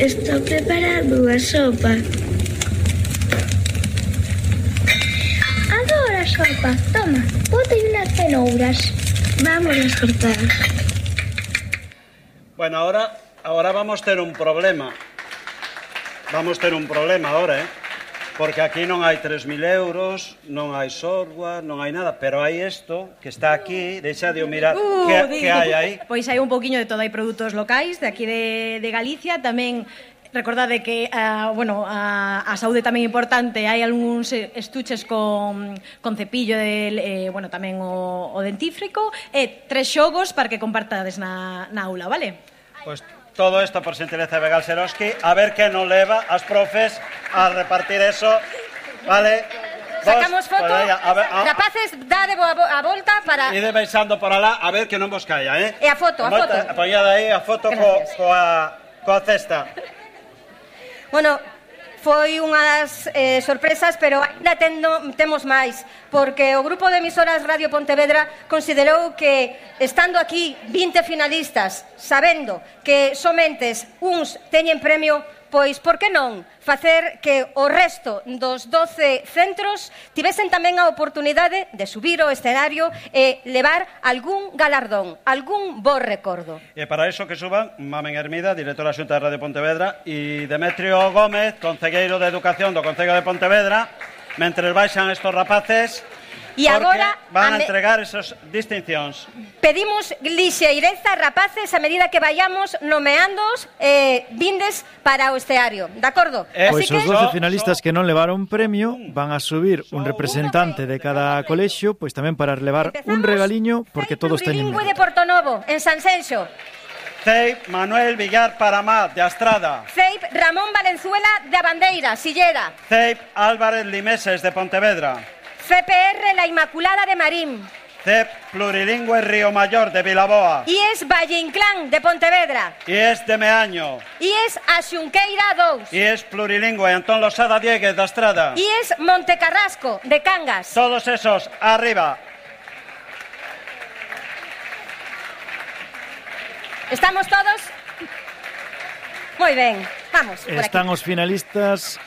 Estou preparando a sopa. Adoro a sopa. Toma, bote unas cenouras. Vamos a cortar. Bueno, ahora vamos ter un problema. Vamos ter un problema ahora, porque aquí non hai 3.000 euros, non hai software, non hai nada, pero hai isto que está aquí, deixa de mirar que hai aí. Pois hai un poquinho de todo, hai produtos locais de aquí de Galicia, tamén recordade que, a saúde tamén é importante, hai algúns estuches con cepillo, tamén o dentífrico, e 3 xogos para que compartades na aula, vale? Pois todo isto por xentileza de Begal Seroski, a ver que non leva as profes a repartir eso, vale? Sacamos foto, rapaces, dade a volta para... Ide baixando por alá, a ver que non vos caia, E a foto. Poñade aí a foto coa cesta. Bueno, foi unha das sorpresas, pero ainda temos máis, porque o grupo de emisoras Radio Pontevedra considerou que, estando aquí 20 finalistas, sabendo que somentes uns teñen premio, pois, por que non facer que o resto dos 12 centros tivesen tamén a oportunidade de subir ao escenario e levar algún galardón, algún bo recordo. E para iso que suban Mamen Hermida, directora da Xunta de Radio Pontevedra, e Demetrio Gómez, concelleiro de Educación do Concello de Pontevedra, mentre baixan estos rapaces, e agora van a entregar esas distincións. Pedimos lixeireza, rapaces, a medida que vayamos nomeándoos vindes para o esteario, de acordo? Pois os 12 finalistas que non levaron premio van a subir un representante de cada colexio, pois tamén para relevar un regaliño, porque todos teñen mérito. De Portonovo, en Sanxenxo. CEIP Manuel Villar Paramá, de Astrada. CEIP Ramón Valenzuela, de Abandeira, Silleda. CEIP Álvarez Limeses, de Pontevedra. CPR La Inmaculada, de Marín. CEP Plurilingüe Río Mayor, de Vilaboa. IES Valle Inclán, de Pontevedra. IES de Meaño. IES A Xunqueira 2. IES Plurilingüe Antón Losada Dieguez, de Astrada. IES Montecarrasco, de Cangas. Todos esos, arriba. ¿Estamos todos? Moi ben, vamos por aquí. Están os finalistas,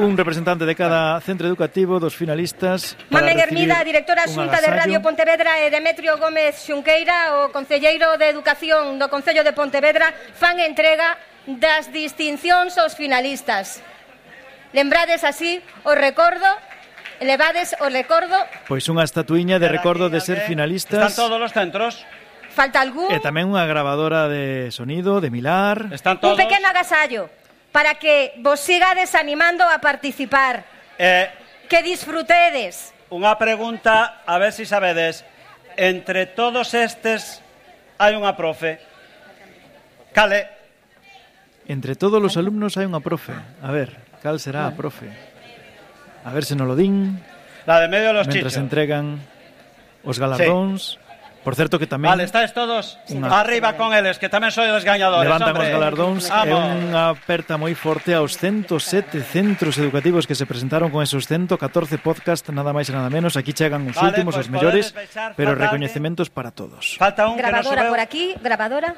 un representante de cada centro educativo, dos finalistas. Mamen Hermida, directora Xunta de Radio Pontevedra, e Demetrio Gómez Xunqueira, o concelleiro de Educación do Concello de Pontevedra, fan entrega das distincións aos finalistas. Lembrades así o recordo, elevades o recordo. Pois unha estatuiña de recordo de ser finalistas. Están todos os centros. Falta algún. E tamén unha grabadora de sonido de Milar. Están todos. Un pequeno agasallo para que vos sigades animando a participar. Que disfrutedes. Unha pregunta, a ver si sabedes. Entre todos estes hai unha profe. Cale? Entre todos os alumnos hai unha profe. A ver, cal será a profe? A ver se non lo din. La de medio de los chichos. Mentras entregan os galardóns. Sí. Por certo que tamén... Vale, estáis todos arriba con eles, que tamén sois gañadores. Levantan os galardóns. É unha aperta moi forte aos 107 centros educativos que se presentaron con esos 114 podcast, nada máis e nada menos. Aquí chegan os últimos, os mellores, pero recoñecementos para todos. Falta un grabadora por aquí, grabadora.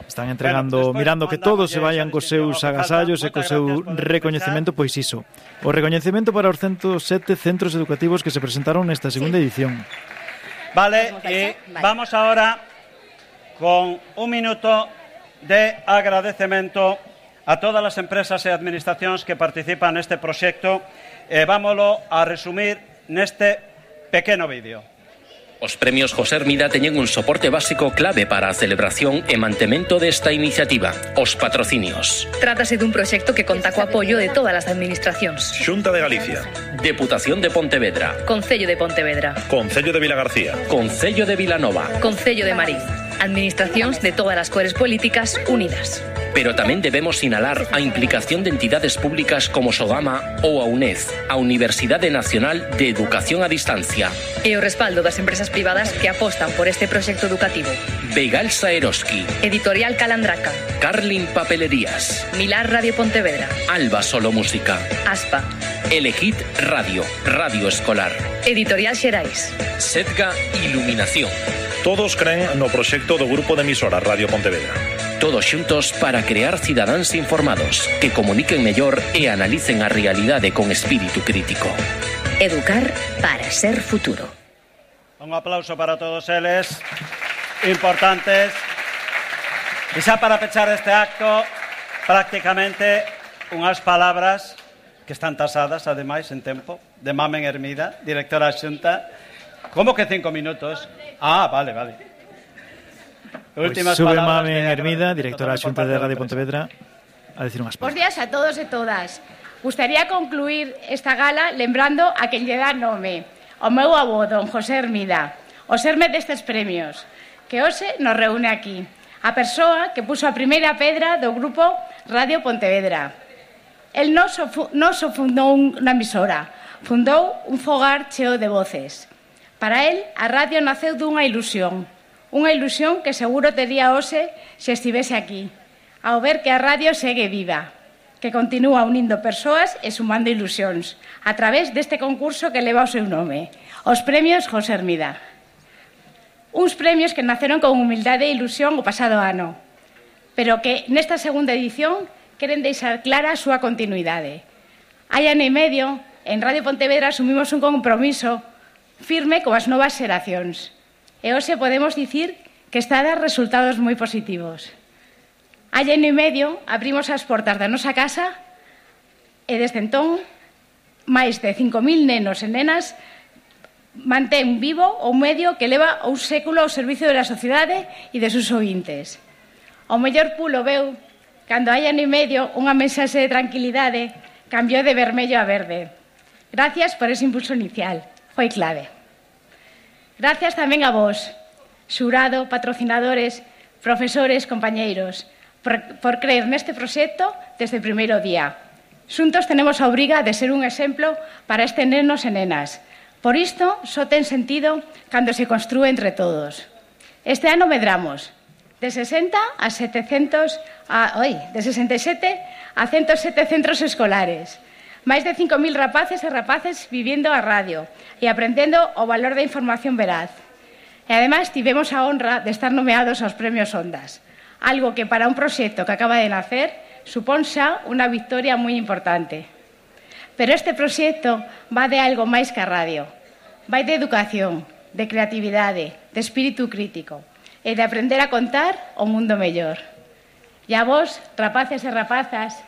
Están entregando, mirando que todos se vayan cos seus agasallos e co seu recoñecemento, pois iso. O recoñecemento para os 107 centros educativos que se presentaron nesta segunda edición. Vale, y vamos ahora con un minuto de agradecemento a todas as empresas e administracións que participan neste proxecto. Vámoslo a resumir neste pequeno vídeo. Os premios José Hermida teñen un soporte básico clave para a celebración e mantemento desta iniciativa, os patrocinios. Trátase dun proxecto que conta co apoio de todas as administracións. Xunta de Galicia, Deputación de Pontevedra, Concello de Pontevedra, Concello de Vilagarcía, Concello de Vilanova, Concello de Marín. Administracións de todas as cores políticas unidas. Pero tamén debemos sinalar a implicación de entidades públicas como Sogama ou a UNED, a Universidade Nacional de Educación a Distancia. E o respaldo das empresas privadas que apostan por este proxecto educativo. Begal Saeroski, Editorial Calandraca, Carlin Papelerías, Milar Radio Pontevedra, Alba Solo Música, Aspa, Elegit Radio, Radio Escolar, Editorial Xerais, Setga Iluminación. Todos creen no proxecto do Grupo de Emisoras Radio Pontevedra. Todos xuntos para crear cidadáns informados que comuniquen mellor e analicen a realidade con espírito crítico. Educar para ser futuro. Un aplauso para todos eles, importantes. E xa para pechar este acto, prácticamente unhas palabras que están tasadas, ademais, en tempo, de Mamen Hermida, directora xunta. Como que 5 minutos? Ah, vale. Últimas sube Mamen Hermida, directora xunta de Radio Pontevedra, a decir unhas palabras. Bos días a todos e todas. Gustaría concluir esta gala lembrando a quen lle dá nome, o meu avó, don José Hermida, o serme destes premios, que hoxe nos reúne aquí, a persoa que puso a primeira pedra do grupo Radio Pontevedra. El non só fundou unha emisora, fundou un fogar cheo de voces. Para el, a radio naceu dunha ilusión que seguro tería hoxe se estivese aquí, ao ver que a radio segue viva, que continúa unindo persoas e sumando ilusións a través deste concurso que leva o seu nome, os Premios José Hermida. Uns premios que naceron con humildade e ilusión o pasado ano, pero que nesta segunda edición queren deixar clara a súa continuidade. Hai ano e medio, en Radio Pontevedra asumimos un compromiso firme coas novas xeracións e hoxe podemos dicir que está a dar resultados moi positivos. Hai ano e medio abrimos as portas da nosa casa e desde entón máis de 5.000 nenos e nenas mantén vivo o medio que leva un século ao servicio da sociedade e de seus ointes. O mellor pulo veu cando hai ano e medio unha mensaxe de tranquilidade cambiou de vermello a verde. Gracias por ese impulso inicial, foi clave. Gracias tamén a vos, xurado, patrocinadores, profesores, compañeiros, por creer neste proxecto desde o primeiro día. Xuntos tenemos a obriga de ser un exemplo para estes nenos e nenas. Por isto, só ten sentido cando se construe entre todos. Este ano medramos de 67 a 107 centros escolares. Máis de 5.000 rapaces e rapaces vivindo a radio e aprendendo o valor da información veraz. E ademais tivemos a honra de estar nomeados aos Premios Ondas, algo que para un proxecto que acaba de nacer supón xa unha victoria moi importante. Pero este proxecto va de algo máis que a radio. Vai de educación, de creatividade, de espírito crítico e de aprender a contar o mundo mellor. E a vos, rapaces e rapazas,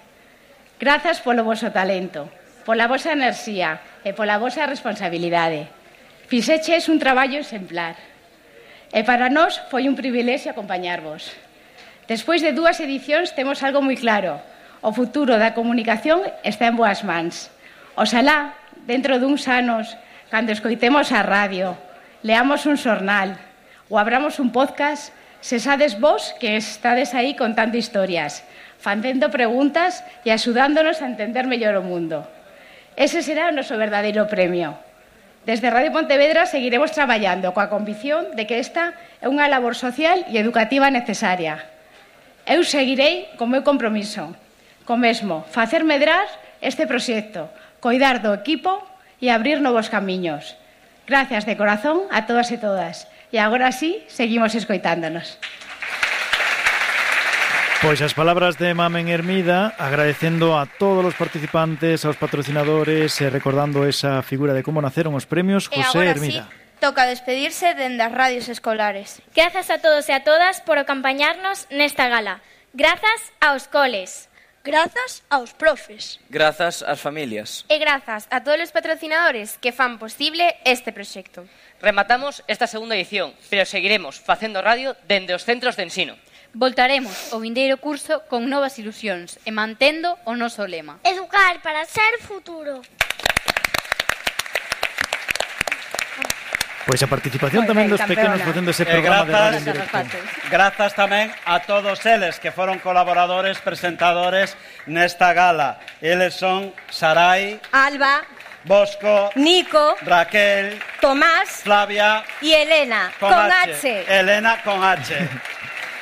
grazas polo voso talento, pola vosa enerxía e pola vosa responsabilidade. Fixeches un traballo exemplar. E para nós foi un privilexio acompañarvos. Despois de 2 edicións temos algo moi claro. O futuro da comunicación está en boas mans. Oxalá, dentro duns anos, cando escoitemos a radio, leamos un xornal ou abramos un podcast, sesades vos que estades aí contando historias, facendo preguntas e axudándonos a entender mellor o mundo. Ese será o noso verdadeiro premio. Desde Radio Pontevedra seguiremos traballando coa convicción de que esta é unha labor social e educativa necesaria. Eu seguirei co meu compromiso, co mesmo, facer medrar este proxecto, coidar do equipo e abrir novos camiños. Gracias de corazón a todas e todas. E agora sí, seguimos escoitándonos. Pois as palabras de Mamen Hermida, agradecendo a todos os participantes, aos patrocinadores e recordando esa figura de como naceron os premios José Hermida. Sí, toca despedirse dende as radios escolares. Grazas a todos e a todas por acompañarnos nesta gala. Grazas aos coles. Grazas aos profes. Grazas ás familias. E grazas a todos os patrocinadores que fan posible este proxecto. Rematamos esta segunda edición, pero seguiremos facendo radio dende os centros de ensino. Voltaremos o vindeiro curso con novas ilusións e mantendo o noso lema. Educar para ser futuro. Pois a participación tamén dos pequenos facendo ese programa de radio en directo. Grazas tamén a todos eles que foron colaboradores, presentadores nesta gala. Eles son Sarai, Alba, Bosco, Nico, Raquel, Tomás, Flavia y Elena, con H. Elena con H.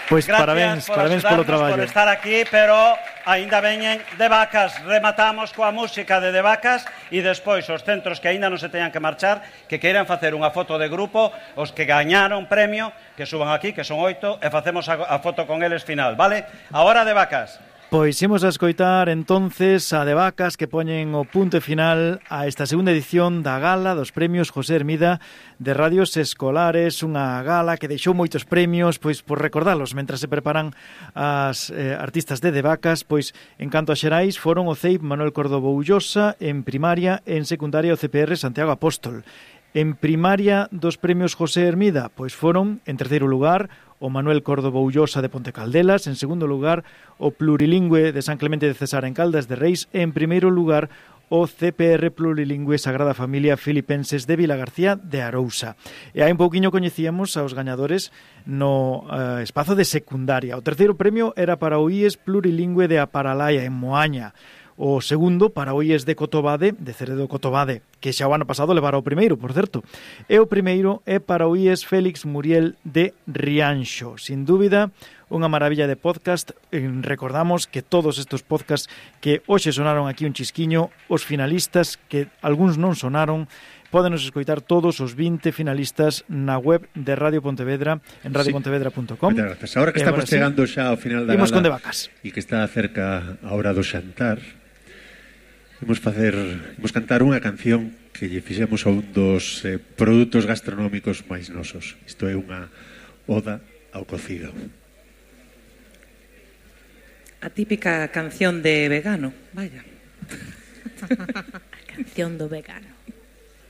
Pois parabéns polo traballo. Por estar aquí, pero aínda veñen de Vacas. Rematamos coa música de Vacas e despois os centros que aínda non se teñan que marchar, que queiran facer unha foto de grupo, os que gañaron premio, que suban aquí, que son 8, e facemos a foto con eles final, vale? A hora de Vacas. Pois imos a escoitar entonces a de Vacas que poñen o punto final a esta segunda edición da gala dos premios José Hermida de Radios Escolares, unha gala que deixou moitos premios, pois por recordalos mentras se preparan as artistas de Vacas, pois en canto a xerais foron o CEIP Manuel Córdoba Ullosa, en primaria, en secundaria o CPR Santiago Apóstol. En primaria dos premios José Hermida, pois foron, en terceiro lugar, o Manuel Córdoba Ullosa de Ponte Caldelas, en segundo lugar, o Plurilingüe de San Clemente de Cesar en Caldas de Reis, e en primeiro lugar, o CPR Plurilingüe Sagrada Familia Filipenses de Vilagarcía de Arousa. E hai un pouquiño coñecíamos aos gañadores no espazo de secundaria. O terceiro premio era para o IES Plurilingüe de Aparalaya, en Moaña. O segundo para o IES de Cotobade, de Ceredo Cotobade, que xa o ano pasado levara o primeiro, por certo. E o primeiro é para o IES Félix Muriel de Rianxo. Sin dúbida, unha maravilla de podcast. Recordamos que todos estes podcasts que hoxe sonaron aquí un chisquiño, os finalistas, que algúns non sonaron, pódenos escoitar todos os 20 finalistas na web de Radio Pontevedra, en radiopontevedra.com. Moitas grazas. Ahora que estamos chegando xa ao final da gala con de Vacas e que está cerca a hora do xantar, imos cantar unha canción que lle fixemos a un dos produtos gastronómicos máis nosos. Isto é unha oda ao cocido. A típica canción de vegano, vaya. A canción do vegano.